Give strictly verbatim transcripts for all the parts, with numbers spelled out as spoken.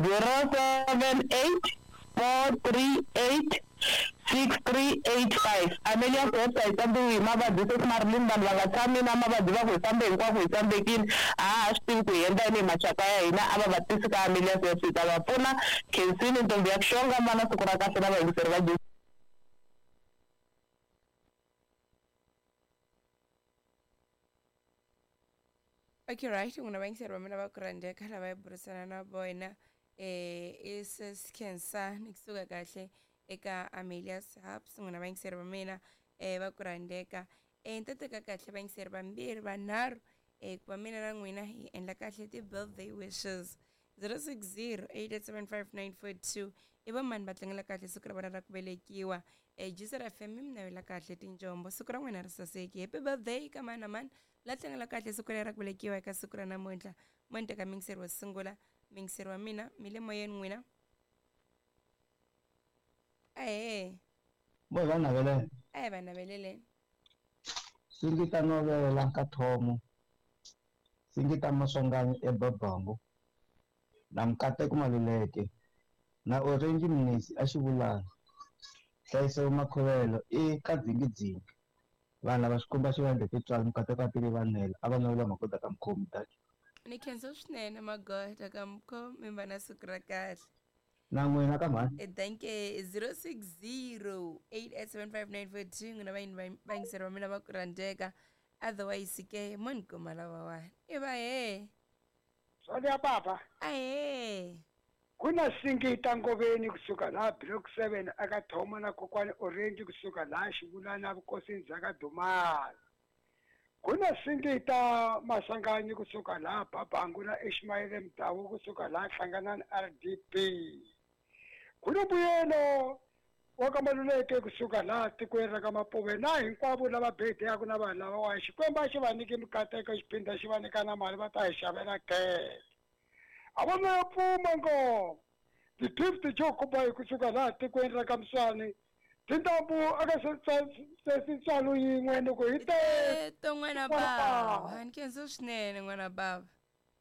zero seven eight four three eight six three eight five Amelia's website tsambiwi hi mavabyi se Marilyn vanhu va nga tshami na mavabyi va ku hi fambe hinkwako hi tsambekile a ha swi tivi ku hi endla yini hi maxaka ya hina a va va tisi ka Amelia's website ta va pfuna khensini ntombi ya ku xonga mana siku ra kahle na vayingiseri va Okay right n'wina vayingiseri va mina va ku rhandzeka lava hi burisana na vona eh i sis Khensani kusuka kahle eka Amelia's Hubs n'wina vayingiseri va mina eh va ku rhandzeka eh ni ta teka kahle vayingiseri vambirhi vanharhu eh ku va mina na n'wina hi endla kahle ti-birthday wishes zero six zero eight eight seven five nine four two i va mani va tlangela kahle siku ra vona ra ku velekiwa eh Juicer F M mi mi navela kahle tinjombo siku ra n'wina ri saseki happy birthday ka mani na mani la tlangela kahle siku leri ra ku velekiwa eka siku ra namuntlha mo ni teka muyingiseri wo sungula muyingiseri wa mina mi le moyeni n'wina ahee Bo va navelela a hi va naveleleni Singita novela ka thomo Singita Maswanganyi eBabangu na Mkateko Maluleke na Orange Mnisi a Xivulana Nhlayiso Makhovelo i ka dzingidzingi vanhu lava Xikwembu a xi va endle tintswalo Mkateko a tile vanhela a va navela magoda ka mukhomi daki ni khensa swinene magoda ka mukhomi va na siku ra kahle na n'wina ka mhani Eh, thank you zero six zero eight eight seven five nine four two n'wina vayini vayingiseri va mina va ku rhandzeka otherwise ke mo ni kuma lavawani i va he Sonia baba ahee kuna Singita Ngoveni kusuka laha block seven aka Thoma na kokwani Orange kusuka laha Xivulana vukosini bya ka Dumala kuna Singita Maswanganyi kusuka laha Babangu na Ishmael Mdawu kusuka laha Hlanganani R D P kuna mbuyelo wa ka Maluleke kusuka laha tikweni ra ka Mapuve na hinkwavo lava bedeyaku na vanhu lavawa Xikwembu a xi va nyiki mikateko xiphinda xi va nyika na mali va ta hi xavela khele a va na pfuma ngo ti-fifty jo kuba kusuka laha tikweni ra ka Mswani tintambu aka sesitswalo yin'we loko hi te to n'wana bava ni khensa swinene n'wana bava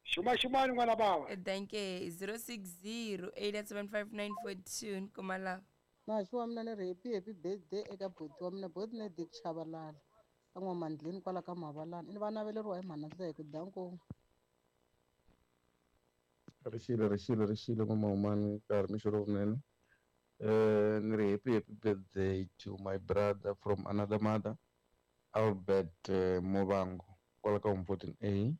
xuma xumani n'wana bava thank you zero six zero eight eight seven five nine four two ni kuma lava Maxi wa mina ni ri happy happy birthday eka buti wa mina buti ni Dick Chabalala ka N'wamandleni kwala ka Mavalani ni va naveleriwa hi mhana Nhleko danko Rixile rixile rixile n'wamahumani nkarhi mixo lowunene eh ni ri happy happy birthday to my brother from another mother Albert uh, Movango kwala ka home fourteen A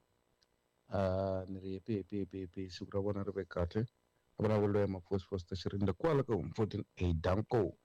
uh ni ri happy happy happy happy siku ra vona ri ve kahle a vulavula ya mafosifos ta Xirinda kwala ka home fourteen A danko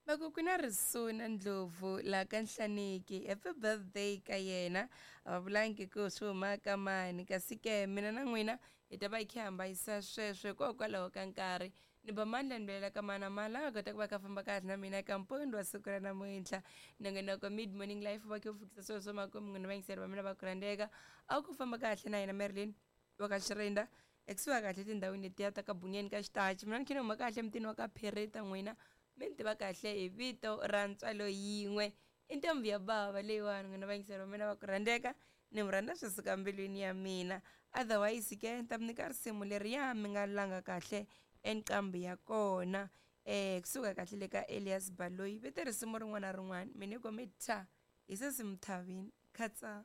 va ku ku na Risuna Ndlovu laha ka Nhlaniki happy birthday ka yena a va vulangi ku swi huma ka mani kasi ke mina na n'wina hi ta va hi kha hi hambayisa sweswo hikokwalaho ka nkarhi ni ba mandla ni velela ka mana mali a nga kota ku va ka famba kahle na mina eka mpundzu wa siku ra namuntlha nongonoko mid morning life va khe u fikisa sweswo makumu n'wina vayingiseri va mina va ku rhandzeka a ku famba kahle na yena Marilyn wa ka Xirinda ekusuhi kahle tindhawini letiya ta ka Bungeni ka Xitachi mina ni khe ni huma kahle emutini wa ka Phereta n'wina mi ni tiva kahle hi vito ra ntswalo yin'we i ntombi ya bava leyiwani n'wina vayingiseri va mina va ku rhandzeka ni mi rhandza swi suka mbilwini ya mina otherwise ke ni ta mi nyika risimu leriya mi nga langa kahle enqambi ya kona eh kusuka kahle le ka Elias Baloyi vete risimu rin'wana na rin'wana mi ni komi tha hi sesi Mthavini khatsa.